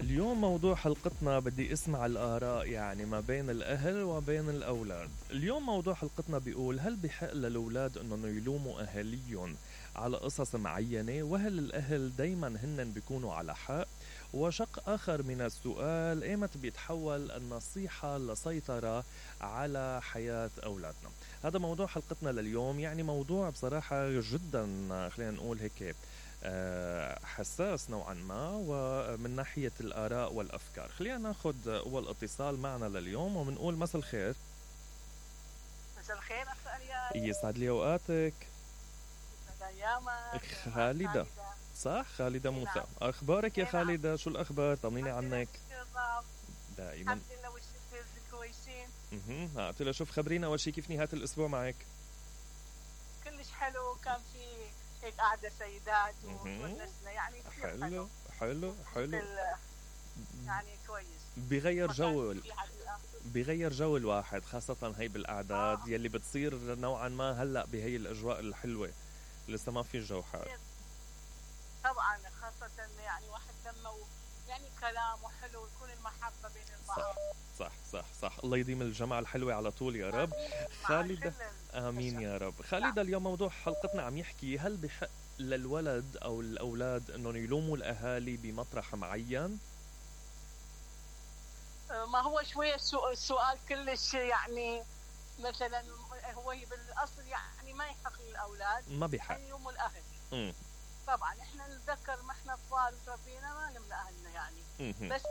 اليوم موضوع حلقتنا بدي اسمع الآراء يعني ما بين الأهل وبين الأولاد. اليوم موضوع حلقتنا بيقول: هل بحق للأولاد أنهم يلوموا أهاليهم على قصص معينة؟ وهل الأهل دايما هن بيكونوا على حق؟ وشق آخر من السؤال: ايمت بيتحول النصيحة لسيطرة على حياة أولادنا؟ هذا موضوع حلقتنا لليوم. يعني موضوع بصراحة جدا خلينا نقول هيك حساس نوعا ما، ومن ناحية الآراء والأفكار. خلينا ناخد أول اتصال معنا لليوم ومنقول مساء الخير. مساء الخير أخ أرياد. يسعد لي أوقاتك. يسعد أيامك. خالدة. صح، خالدة موسى. نعم. أخبارك يا نعم. خالدة؟ شو الأخبار؟ طمنيني عنك. دائما الحمد لله والشكر كويسين. قلت له شوف خبرينا أول شي كيف نهاية الأسبوع معك؟ كلش حلو، كان في هيك قعدة سيدات ونسنا يعني حلو حلو حلو. يعني كويس، بغير جو الواحد، خاصة هي بالأعداد يلي بتصير نوعا ما هلأ بهي الأجواء الحلوة. لسه ما في الجو حار طبعا، خاصة يعني واحد لما يعني كلام وحلو ويكون المحبة بين البعض. صح صح صح. الله يديم الجماعة الحلوة على طول يا رب. خالدة آمين يا رب. خالدة، اليوم موضوع حلقتنا عم يحكي: هل بحق للولد أو الأولاد أنهم يلوموا الأهالي بمطرح معين؟ ما هو شوية السؤال كلش يعني مثلا هو بالأصل يعني ما يحق للأولاد، ما بيحق يلوموا الأهل. طبعا احنا نتذكر ما احنا اطفال تربينا ما نمنا اهلنا يعني. بس